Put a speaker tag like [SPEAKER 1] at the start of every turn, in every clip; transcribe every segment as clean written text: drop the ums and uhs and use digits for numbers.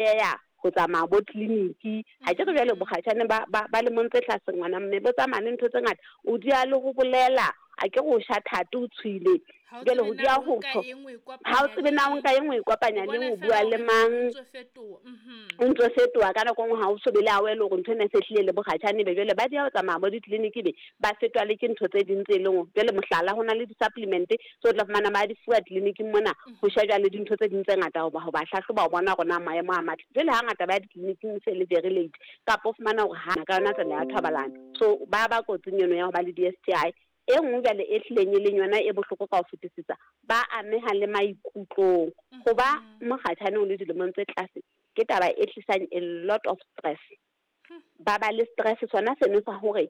[SPEAKER 1] Ya ho tsamaya bo tleliniki, ha ke re jwale bokgatjhane ba lemong tse tlase, ngwana mme, bo tsamaya le ntho tse ngata. O dia le ho bolela, a ke re o sha thate, o tshwile.
[SPEAKER 2] Ha o
[SPEAKER 1] Jwale
[SPEAKER 2] tsebe
[SPEAKER 1] ho
[SPEAKER 2] na
[SPEAKER 1] dia
[SPEAKER 2] o
[SPEAKER 1] ho
[SPEAKER 2] nka
[SPEAKER 1] tjho,
[SPEAKER 2] eng, o e
[SPEAKER 1] ha o
[SPEAKER 2] kopanya
[SPEAKER 1] tsebe
[SPEAKER 2] le
[SPEAKER 1] na o
[SPEAKER 2] eng.
[SPEAKER 1] nka eng, o e kopanya
[SPEAKER 2] O
[SPEAKER 1] le
[SPEAKER 2] bona
[SPEAKER 1] eng, o
[SPEAKER 2] feela
[SPEAKER 1] bua le
[SPEAKER 2] hore
[SPEAKER 1] mang.
[SPEAKER 2] o ntso fetoha.
[SPEAKER 1] O ntso fetoha ka nako e nngwe, ha o so be le aware hore ntho ena e se hlile le bokgatjhane. Be jwale ba dia ho tsamaya bo ditleliniki, be ba fetwa le ke ntho tse ding tse leng hore jwale, mohlala, ho na le di-supplement tse o tla fumana ba di fuwa tleliniking mona, ho shejwa le dintho tse ding tse ngata, ho ba hlahloba, ho bona hore na maemo a matle. Jwale hangata ba ya ditleliniking se le very late, kapa o fumana hore ha ka yona tsela ya thobalano. So ba kotsing eno ya ho ba le di-STI. E nngwe jwale e hlileng e leng yona e bohloko ka ho fetisisa, ba ameha le maikutlong. Ho ba mokgatjhane o le dilemong tse tlase ke taba e tlisang a lot of stress. Ba le stress sona seno sa hore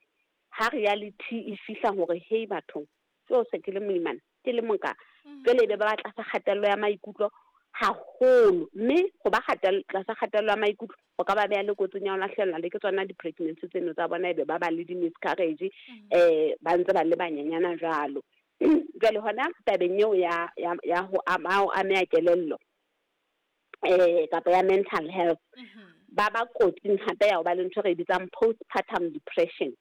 [SPEAKER 1] ha reality e fihla hore, "Hey bathong, so se ke le moimana, ke le moka." Jwale ebe ba ba tlasa kgatello ya maikutlo haholo, mme ho ba tlasa kgatello ya maikutlo ho ka ba beha le kotsing ya ho lahlehelwa le ke tsona di-pregnancy tseno tsa bona, ebe ba ba le di-miscarriage ba ntse ba le banyenyana jwalo. Jwale hona tabeng eo ya ho ameha kelello kapa ya mental health, ba kotsing hape ya ho ba le ntho e re e bitsang postpartum depression,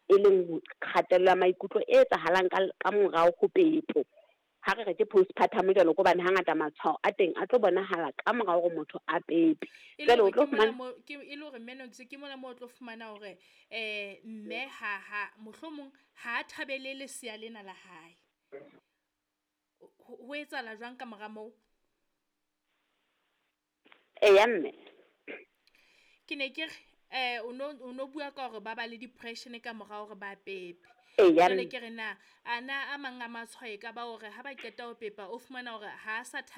[SPEAKER 1] e leng kgatello ya maikutlo e etsahalang ka morao ho pepo. Ha re re ke postpartum jwalo, ke hobane hangata matshwao a teng a tlo bonahala ka mora hore motho a pepe.
[SPEAKER 2] E le
[SPEAKER 1] Jwale o
[SPEAKER 2] hore
[SPEAKER 1] tlo
[SPEAKER 2] ke mona
[SPEAKER 1] fumana
[SPEAKER 2] mo ke e le hore Menox, ke mona mo o tlo fumana hore mme ha mohlomong ha a thabele lesea lena la hae. Ho etsahala jwang ka mora moo?
[SPEAKER 1] Eya mme.
[SPEAKER 2] Ke ne ke re o no bua ka hore ba ba le depression ka mora hore ba pepe.
[SPEAKER 1] Eya.
[SPEAKER 2] Jwale
[SPEAKER 1] Mme.
[SPEAKER 2] ke re na a na a mang a matshwao e ka ba hore ha ba qeta ho pepa, o fumana hore ha a sa.